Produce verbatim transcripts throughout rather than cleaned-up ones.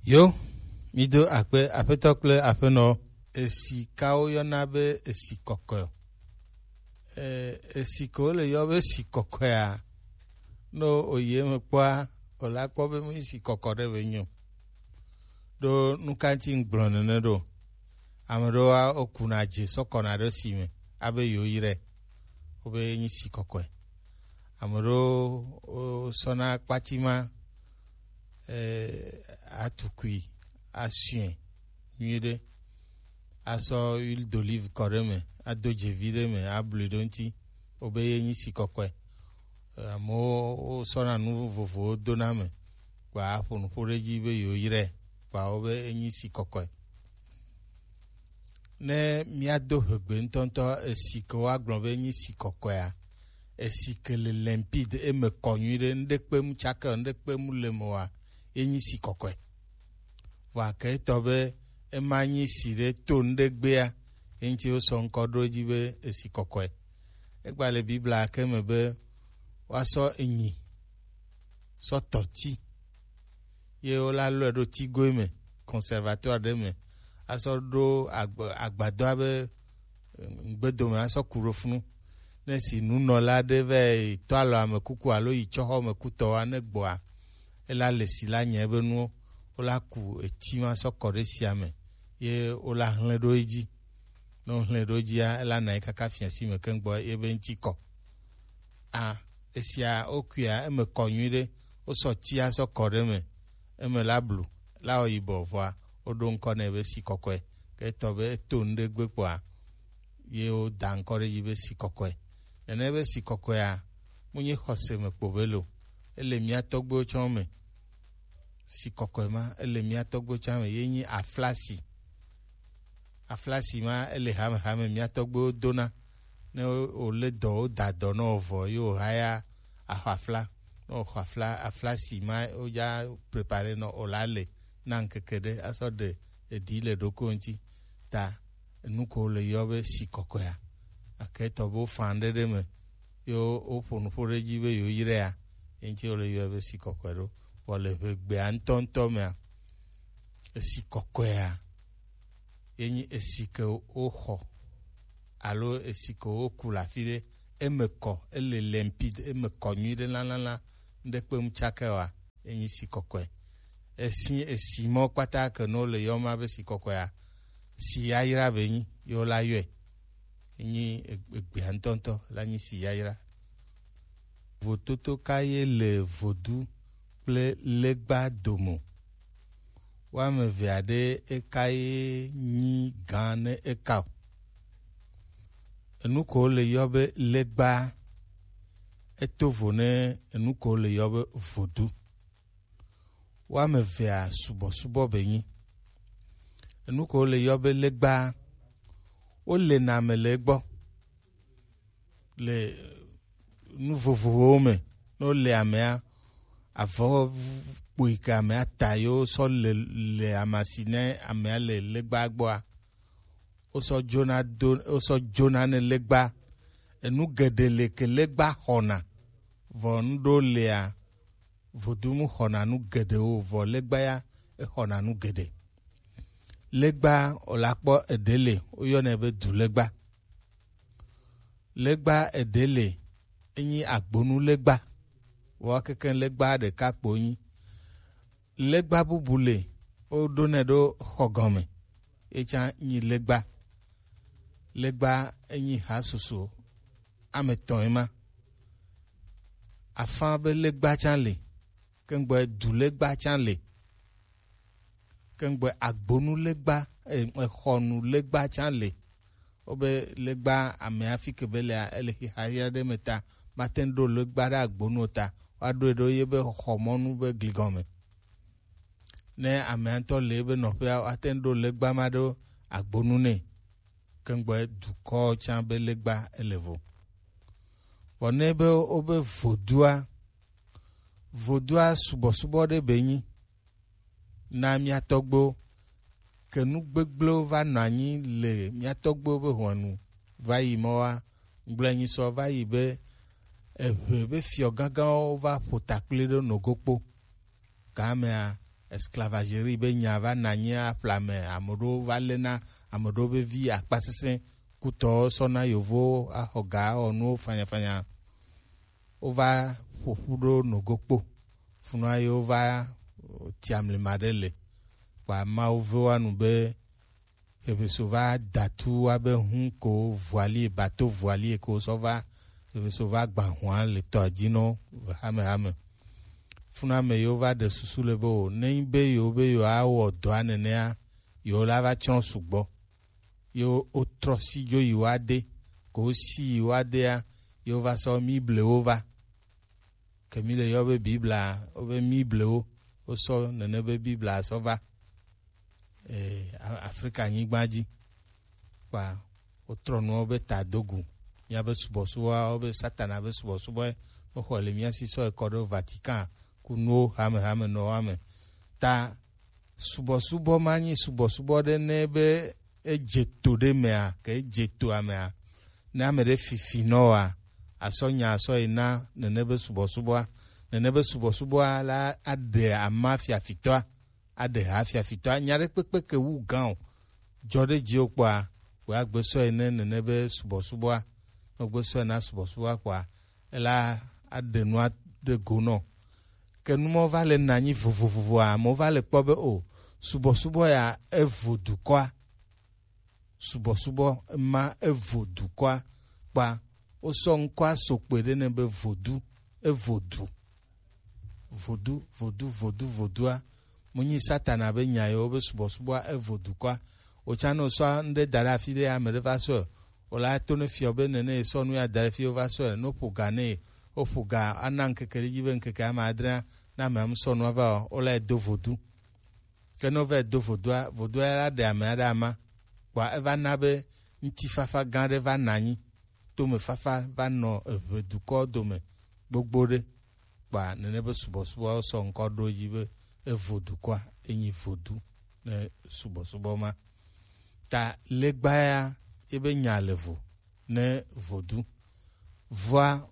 Yo, mi do akpe Aƒetɔ kple Aƒenɔ. Esi kawo yɔna be esi kɔkɔe? E, esi ke wole yɔ be esi kɔkɔea, ne oyi eme kpɔa, wòle akpɔ be menyi si kɔkɔ ɖe be nyo. Ɖo nu ka ŋuti ŋgblɔ nene ɖo? Ame ɖewoa, wokuna dze sɔ kɔna ɖe si me, abe yewoyrae, wobe enyi si kɔkɔe. Ame ɖewo wosɔna kpati ma, eh, atukui, asue nyuiɖe, asɔ huile d'olive kɔ ɖe eme, ado dzevi ɖe eme, ablui ɖe eŋuti, wobe ye nyi si kɔkɔe. Eh, amewo wosɔna nu vovovowo dona eme, kpa aƒo nuƒo ɖe edzi be yewoyrae, kpa wobe enyi si kɔkɔe. Ne míado hegbe ŋutɔŋutɔ esi ke woagblɔ be enyi si kɔkɔea, esi ke le limpide, eme kɔ nyuiɖe, ŋɖekpe mu tsake o, ŋɖekpe mu le eme oa, enyi si kɔkɔe. Vɔa ke etɔ be ema nyi si ɖe to ŋɖegbea, eŋuti wosɔ ŋkɔ ɖo edzi be esi kɔkɔe. Egba le Biblia ke me be woasɔ enyi sɔ tɔ ti, ye wola lɔe ɖo tigoe me, conservatoire ɖe me, asɔ ɖo agb-, agbadɔa be, eh, ŋgbedome asɔ ku ɖo funu. Ne si nunɔla ɖe va yi tɔ alɔ ame kuku alo yi tsɔ xɔ ame kutɔwoa, ne gbɔa, ela le si la nya ebe nuwo, wola ku eti ma sɔ kɔ ɖe sia me, ye wola hlẽ ɖo edzi. Ne wohlẽ ɖo edzia, ela nɔ anyi kaka fiasi me keŋ gbɔ ye be ŋuti kɔ. A, esia wokuia, eme kɔ nyuiɖe, wosɔ tia sɔ kɔ ɖe eme, eme la blu, la wɔ yibɔ vɔa, woɖo ŋkɔ nɛ be si kɔkɔe. Ke etɔ be eto nu ɖe gbe kpɔa, ye woda ŋkɔ ɖe edzi be si kɔkɔe. Nene be si kɔkɔea, mu nyi xɔse me kpo be lo. Ele mía tɔgbuiwo tsɔ me. Si kɔkɔe ma, ele mía tɔgbuiwo tsɔ me, ye nyi aflasi. Aflasi ma, ele hamehame mía tɔgbuiwo dona. Ne wo-, wole dɔ, woda dɔ nɔ vɔ, ye wohaya axɔ afla. Ne woxɔ afla, aflasi ma, wodza prepare nɔ, wola le na ŋkeke ɖe, asɔ ɖe eɖi le ɖoko ŋuti. Ta enu ko le yɔ be si kɔkɔea, gake etɔ be wofã ɖe ɖe me, ye wo-, woƒo nuƒo ɖe edzi be yewoyraea, ye ŋuti wole yɔe be si kɔkɔe ɖo. Vɔ le Ʋegbea ŋutɔŋutɔ mea, esi kɔkɔea, ye nyi esi ke woxɔ alo esi ke woku le afi ɖe, eme kɔ, ele limpide, eme kɔ nyuiɖe lalala, ŋɖekpe mu tsake oa, enyi si kɔkɔe. Esi, esi mɔ kpata ke ne wole yɔm be si kɔkɔea, si yayra be nyi, ye wola yɔe. Enyi eg-, egbea ŋutɔŋutɔ la nyi si yayra. Vototo ka ye le vodu kple legba dome? Woame evea ɖe eka ye nyi gã ne eka o? Enu ko le yɔ be legba, eto vo ne enu ko le yɔ be vodu. Woame evea subɔsubɔ be nyi. Enu ko le yɔ be legba, wole na ame le egbɔ le nu vovovowo me. Ne wole amea, avɔ kpui ke amea ta ye wosɔ le, le amasi ne amea le legba gbɔa, wosɔ dzona do, wosɔ dzona ne legba. Enu geɖe le ke legba xɔna, vɔ nu ɖewo lea, vodu mu xɔna nu geɖewo, vɔ legba ya exɔna nu geɖe. Legba, wòle akpɔ eɖe le, woyɔnɛ be du legba. Legba eɖe le, enyi agbonu legba. Vɔ kekeŋ legba ɖeka kpo nyi. Legba bubu le, woɖonɛ ɖo xɔ gɔme, ye tsã nyi legba. Legba enyi ha susu ame etɔ̃ ye ma. Afã be legba tsã le, keŋgbɔ du legba tsã le, keŋgbɔ agbonu legba, e, exɔnu legba tsã le. Wobe legba amea fi ke be lea, ele xixa ɖe me ta, mate ŋu ɖo legba ɖe agbonu o ta, woaɖoe ɖo ye be xɔmɔnu be gligɔme. Ne amea ŋutɔ le ebe nɔƒea, woate ŋu ɖo legba ma ɖo agbonu nɛ. Keŋgbɔ dukɔ tsã be legba ele vo. Vɔ ne be wobe vodua, vodua subɔsubɔ ɖe be nyi na mía tɔgbuiwo. Ke nu gbegblẽwo va nɔ anyi le mía tɔgbuiwo be hɔnu va yi mɔwa, ŋgblɔe nyi sɔ va yi be Eʋe be fiɔ gãgãwo va ƒo ta kpli ɖo nogokpo. Gamea, esclavagerie be nya va nɔ anyi aƒle ame, ame ɖewo va léna ame ɖewo be vi akpasesẽ, kutɔwo sɔna yovowo axɔ ga, awɔ nuwo fanyafanya. Wova ƒo ƒu ɖo nogo kpo. Funua ye wova, eh, tia mlima ɖe le. Kpa Mawu ve wa nu be Hebeso va da tu wa be hun ko voilier, bateau voilier ko sɔ va. Hebeso va gba hua le tɔ dzi nɔ hamehame. Funua me yewo va ɖe susu le be o, ne nyi be yewo be yewo awɔ dɔa nenea, yewo la va tsrɔ̃ sugbɔ. Yewo wotrɔ si dzo yi wa de, ko si yi wa dea, yewo va sɔ mi blewo va. Ke mi le yɔ be Biblia, wo be mi blewo, wo sɔ nene be Biblia sɔ va, eh, A-, Afrika nyigba dzi. Kpa wotrɔ nuwo be ta do gu. Míabe subɔsubɔa, wo be Satana be subɔsubɔe, no xɔ le mía si sɔ ekɔ ɖo Vatican ku nuwo hamehame nɔwo ame. Ta subɔsubɔ ma nyi subɔsubɔ ɖe ne be edze to ɖe mea, ke edze toa mea, ne ame ɖe fifi nɔ wa, asɔ nya asɔ yi na nene be subɔsubɔa, nene be subɔsubɔa la aɖe ama fiafitɔa, aɖe ha fiafitɔa, nya ɖe kpekpe ke wu gã o, dzɔ ɖe dziwò kpɔa, wò agbe sɔe ne nene be subɔsubɔa, ne wògbe sɔe na subɔsubɔa kpɔa, ela aɖe nua ɖe go nɔ. Ke nu mɔ va le nɔ anyi vovovovoa, amewo va le kpɔ be o, subɔsubɔ ya evo dukɔa, subɔsubɔ ma evo dukɔa kpa, wosɔ ŋkɔa so kpe ɖe ne be vodu, evo du. Vodu, vodu, vodu, vodua. Mu nyi Satana be nya yewo be subɔsubɔa evo dukɔa. Wotsa ne wosɔ ŋɖe da ɖe afi ɖe, ame ɖe va sɔe, wola to ne fiɔ be nene ye sɔ nu ya da ɖe fi wo va sɔe, no ƒo ga ne ye, woƒo ga ana ŋkeke ɖe dzi be ŋkeke ame adrea, na ame am sɔ nua va o, wola ye do vodu. Ke ne wova yi do vodua, vodua ya la ɖe amea ɖe ama, kpɔa eva na be ŋutifafa gã ɖe va nɔ anyi, tomefafa va nɔ Eʋe dukɔ dome gbogbo ɖe, kpɔa nene be subɔsubɔawo sɔ ŋkɔ ɖo edzi be evo dukɔa, enyi vodu ne subɔsubɔ ma. Ta legba ya, ebe nya le vo ne vodu. Vɔa,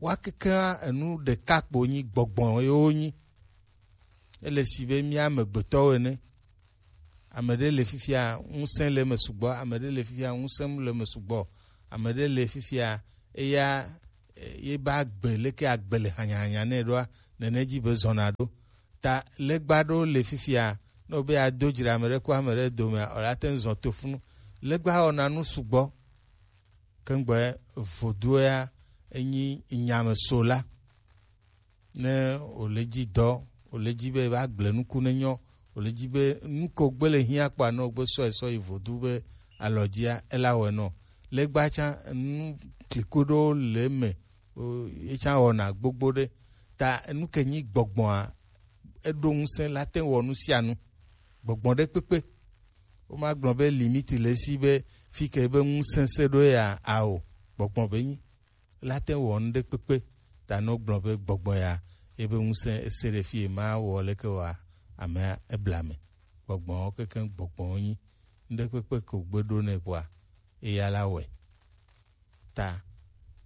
wa kekea enu ɖeka kpo nyi gbɔgbɔ yewo nyi. Ele si be mía amegbetɔwo ene. Ame ɖe le fifia, ŋusẽ le eme sugbɔ, ame ɖe le fifia, ŋusẽ le eme sugbɔ, ame ɖe le fifia, eya, eh, ye be agbe, leke agbe le hanyahanya nɛ ɖoa, nene dzi be zɔna ɖo. Ta legba ɖewo le fifia, ne wobe yeado dzre ame ɖe ku ame ɖe domea, wòla te ŋu zɔ to funu. Legba wɔna nu sugbɔ. Kengbe vodu ya enyi nyame so la. Ne wòle dzi dɔ, wòle dzi be va gble nuku ne nyɔ, wòle dzi be nu ko gbe le hiã kpɔa, ne wògbe sɔe sɔ yi vodu be alɔ dzia, ela wɔe nɔ. Legba tsã, nu kliko ɖewo le eme, o, ye tsã wɔna gbogbo ɖe. Ta nu ke nyi gbɔgbɔa, eɖo ŋusẽ la te wɔ nu sia nu. Gbɔgbɔ ɖe kpekpe. Womagblɔ be limite le esi be fi ke be ŋusẽ se ɖo ya ao. Gbɔgbɔ be nyi. La te wɔ nu ɖe kpekpe. Ta ne wogblɔ be gbɔgbɔ ya, ebe ŋusẽ ese ɖe fi ma wɔ leke wa, amea ebla me. Gbɔgbɔwo keke gbɔgbɔwo nyi. Nu ɖe kpekpe ko gbe ɖo nɛ kpɔa, eya la wɔe. Ta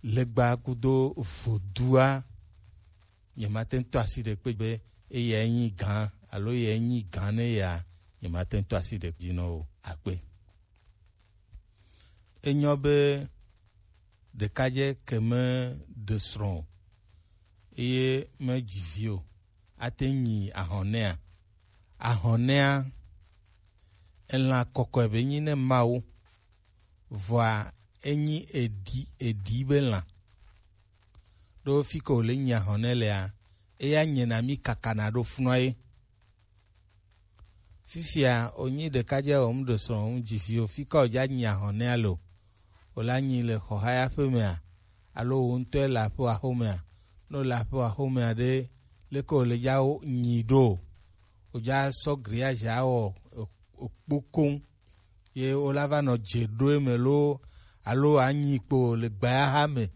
legba kudo vodua, nyemate ŋu to asi ɖe kpe be eyae nyi gã alo eyae nyi gã ne ya, nyemate ŋu to asi ɖe dzi nɔ o. Akpe. Enyɔ be ɖekadze ke me ɖe srɔ̃ o, eye me dzi vi o, ate nyi ahɔnɛa? Ahɔnɛa, elã kɔkɔe be nyi ne Mawu, vɔa enyi eɖi, eɖi be lã. Ɖo fi ke wòle nyi ahɔnɛ lea, eya nyena mi kakana ɖo funua ye. Fifia wònyi ɖekadze wɔm ɖe srɔ̃ ŋu dzi vi o, fi ke wòdza nyi ahɔnɛa lo, wòla nyi le xɔhaya ƒe mea, alo wò ŋutɔe le aƒe axomea? Ne wòle aƒe axomea ɖe, leke wòle dza nyi ɖo? Wòdza sɔ grillage awɔ ekpo koŋ. Ye wola va nɔ dze ɖo eme loo, alo anyi kpo le gbayaha me,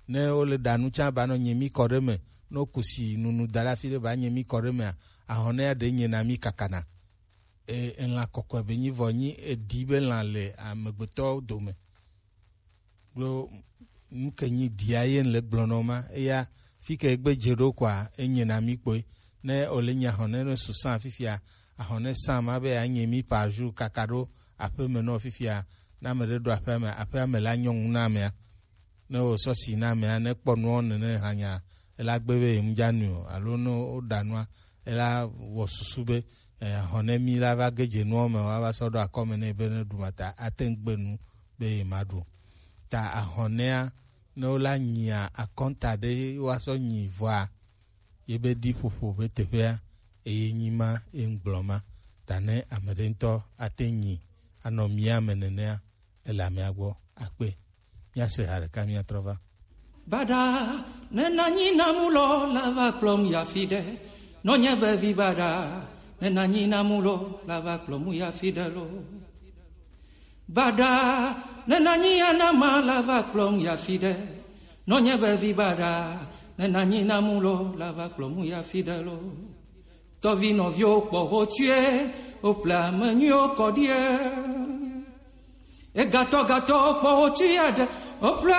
ne wole ɖa nu tsã ba nɔ nye mi kɔ ɖe me, ne woku si nunu da ɖe afi ɖe ba nye mi kɔ ɖe mea, ahɔnɛ ya ɖe nye na mi kakana. E, elã kɔkɔe be nyi vɔ nyi eɖi be lã le amegbetɔ dome. Ɖo nu ke nyi ɖia ye le gblɔ nɔ ma, eya fi ke gbe dze ɖo kɔa, enye na mi kpoe. Ne wòle nyi ahɔne ne susã fifia, ahɔne sã ma be yeanye mi par jour kaka ɖo aƒeme nɔ fifia, ne ame ɖe ɖo aƒea me, aƒea me la nyɔ ŋu na amea. Ne wòsɔ si na amea, ne kpɔ nuwo nene hanya, ela gbe be yemdza nui o, alo ne woɖa nua, ela wɔ susu be, eh, ahɔne mi la va ge dze nuwo me, woava sɔ ɖo akɔme nɛ be ne ɖu ma ta ate ŋu gbe nu be yemaɖu. Ta ahɔnea, ne wola nyia akɔnta ɖe woasɔ nyi vɔa, yebe ɖi ƒoƒo be teƒea, eye nyi ma, ye ŋgblɔ ma. Ta ne ame ɖe ŋutɔ ate nyi anɔ mía me nenea, ele amea gbɔ akpe. Míase ha ɖeka míatrɔ va. Baɖa, ne nanyi na mu lɔ la va kplɔm ya fi ɖe. Nɔnye be vi baɖa, ne nanyi na mu lɔ la va kplɔm ya fi ɖe lo. Baɖa, ne nanyi ya na ma la va kplɔm ya fi ɖe. Nɔnye be vi baɖa, ne nanyi na mu lɔ la va kplɔm ya fi ɖe lo. Tɔvi nɔviwo kpɔ ho tue, o ple ame nyuiwo kɔ ɖie. Egatɔ gatɔ kpɔ ho tui aɖe, o ple